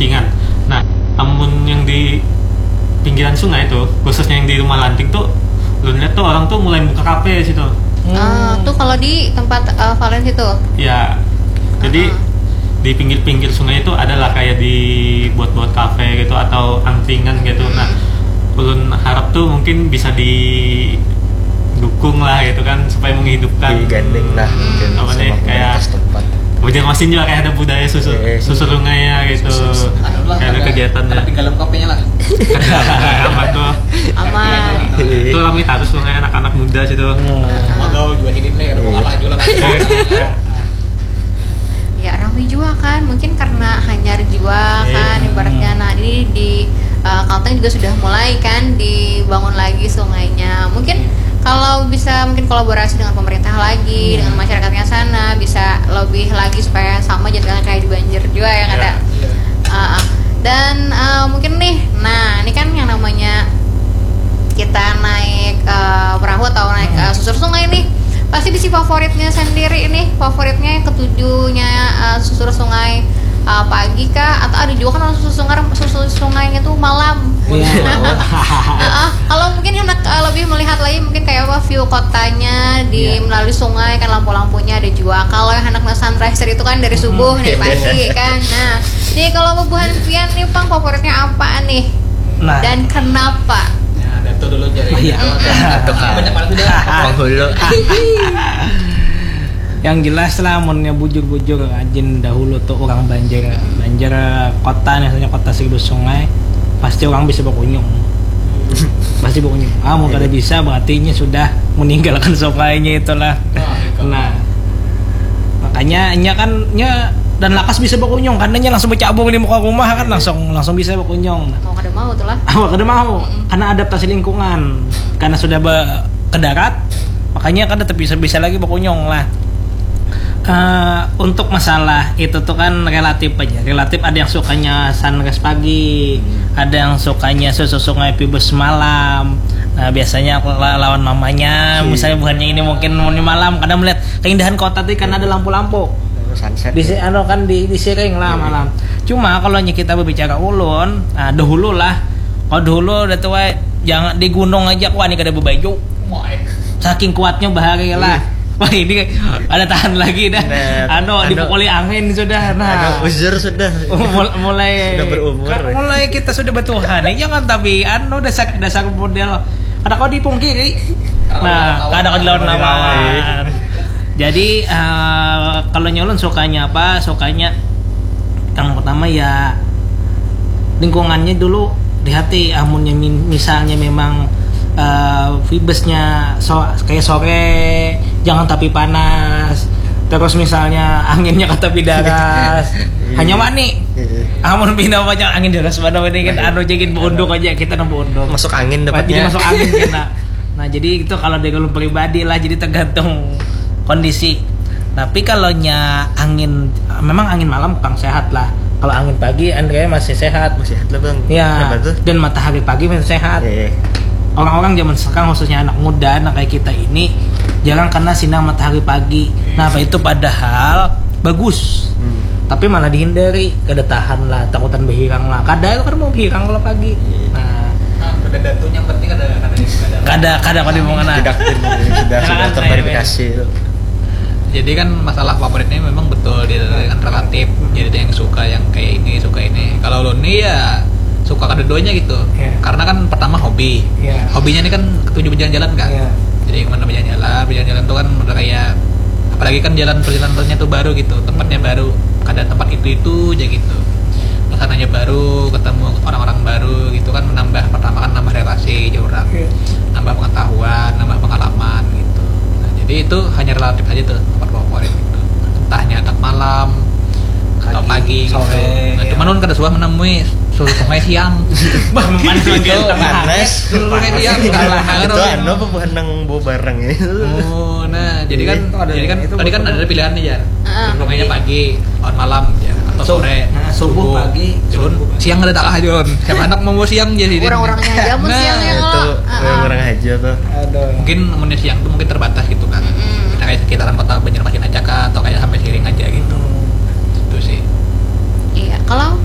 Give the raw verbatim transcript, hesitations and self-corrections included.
Ringan. Nah, amun yang di pinggiran sungai tuh, khususnya yang di Rumah Lanting tuh, lu lihat tuh orang tuh mulai buka kafe situ. Ah, tuh kalau di tempat eh, Valen situ. Ya, jadi Ah. di pinggir-pinggir sungai itu adalah kayak di buat-buat kafe gitu atau angkringan gitu. Nah, ulun harap tuh mungkin bisa didukung lah gitu kan, supaya menghidupkan Digandeng lah mungkin apa sama nih, kayak pemerintah setempat. Banjarmasin juga kayak ada budaya susur Eh, eh. susur sungai ya gitu. Anu lah, Kayak ada kegiatan ya. Ada tinggal kafenya lah. Aman tuh. Aman. Itu ramai terus sungai, anak-anak muda situ. Magaul juga hidin lah ya, ada apa juga lah. Ya, ramai juga kan, mungkin karena hanyar juga kan ibaratnya. Nah, ini di eh, Kalteng juga sudah mulai kan dibangun lagi sungainya. Mungkin kalau bisa mungkin kolaborasi dengan pemerintah lagi, dengan masyarakatnya sana, bisa lebih lagi supaya sama jadinya kayak di Banjar juga ya, kada. Iya. Ah, ah. Dan eh, mungkin nih, nah ini kan yang namanya kita naik eh, perahu atau naik eh, susur sungai nih, pasti bisi favoritnya sendiri nih, favoritnya yang ketujuhnya eh, susur sungai eh, pagi kah, atau ada juga kan orang susur sungai, susur sungainya tuh malam. Iya. Heeh. Kalau mungkin hendak eh, lebih melihat lagi mungkin kayak apa view kotanya di Iya. melalui sungai kan, lampu-lampunya ada juga. Kalau yang hendak sunrise itu kan dari subuh dari pagi kan. Nah, jadi kalau bubuhan pian nih pang favoritnya apa nih? Nah. Dan kenapa? Ya, Datu dulu jadi. Iya. Banyak banget udah. Penghulu. Yang jelas lah, munnya bujur-bujur, rajin dahulu tuh orang Banjar, Banjar kota nih, misalnya kota seribu sungai, pasti orang bisa bakunyung, pasti bakunyung. Ah, mun kada bisa, berarti inya sudah meninggalkan sungainya itulah. Nah, makanya inya kan, inya dan lakas bisa bakunyung karena inya langsung bercabung di muka rumah kan, langsung langsung bisa bakunyung. Nah, Mau kada mau tuh lah. Awak kada mau karena adaptasi lingkungan, karena sudah be- ke darat, makanya kada bisa bisa lagi bakunyung lah. Eh, untuk masalah itu tuh kan relatif aja, relatif. Ada yang sukanya sunrise pagi, ada yang sukanya susur sungai pibes malam. Nah, biasanya aku la- lawan mamanya, misalnya buhannya ini mungkin mau di malam, kadang melihat keindahan kota tuh karena ada lampu-lampu. Sunset. Di si- anu kan di disiring lah malam. Cuma kalau nya kita berbicara ulun, nah, dahulu lah. Kalau dahulu udah tua, jangan di gunung aja aku wani kada berbaju. Saking kuatnya bahari lah. Wah, ini ada tahan lagi dah. Nah, Anu, anu. Dipukuli angin sudah. Nah, Anu, uzur sudah. Mul- mulai Sudah berumur. Ka- mulai kita sudah bertuhan ya, jangan tapi anu dasar dasar model kada kau dipungkiri. Nah, kada kau dilawan lawan. Jadi eh, kalau nyolon sukanya apa? Sukanya yang pertama ya lingkungannya dulu di hati. Amunnya min- misalnya memang eh, vibesnya so, kayak sore, jangan tapi panas. Terus misalnya anginnya kata tapi daras, hanya wani. Amun pindah banyak angin deras mana ini kan anu aja gin beunduk aja kita nang beunduk. Masuk angin Jadi dapatnya. Masuk angin kena. Nah, jadi itu kalau dari ulun pribadi lah, jadi tergantung kondisi. Tapi kalau nya angin, memang angin malam kurang sehat lah. Kalau angin pagi Andre masih sehat. Masih sehat lah bang. Ya, Kenapa tuh? Dan matahari pagi masih sehat. Iya. Orang-orang zaman sekarang khususnya anak muda, anak kayak kita ini jarang kena sinar matahari pagi. Nah, apa itu padahal bagus. Tapi malah dihindari, kada tahan lah, takutan berhirang lah. Kada kan mau berhirang kalau pagi. Nah, Nah, udah datu yang penting ada ada ada. kada kada kau diomongkan. Tidak sudah sudah Jangan terverifikasi itu. Jadi kan masalah favoritnya memang betul dia kan relatif. Jadi ada yang suka yang kayak ini, suka ini. Kalau ulun nih ya suka keduanya gitu. Iya. Karena kan pertama hobi. Iya. Hobinya ini kan ketujuh berjalan-jalan kan. Iya. Jadi kemana berjalan-jalan, berjalan-jalan tuh kan udah kayak apalagi kan jalan perjalanannya tuh baru gitu, tempatnya baru, kada tempat itu itu aja gitu, suasananya baru, ketemu orang-orang baru gitu kan, menambah pertama kan nambah relasi aja orang, Iya. Nambah pengetahuan, nambah pengalaman gitu. Nah, jadi itu hanya relatif aja tuh tempat favorit gitu, entahnya anak malam atau pagi gitu. Sore, Nah, iya. Cuman ulun kada suah menemui su- sungai siang. Bah, memang Itu Panas. Sungai siang. Itu anu apa buhan nang bawa barang itu? Oh, nah, jadi kan Itu ada- jadi kan itu tadi kan betul. Ada pilihan nih ya. Ah, Pokoknya pagi, lawan malam ya, atau Sub- sore, nah, subuh, pagi, Culun, subuh pagi. Siang ada tak lah Culun. Siapa anak mau siang jadi. Orang-orangnya aja mun Nah, siang ya Itu kalau. Ah, ah. Orang-orang aja tuh. Aduh. Mungkin amunnya siang tuh mungkin terbatas gitu kan. Kita kayak sekitaran kota Banjarmasin aja kah atau kayak sampai Siring aja gitu. Itu sih. Iya, kalau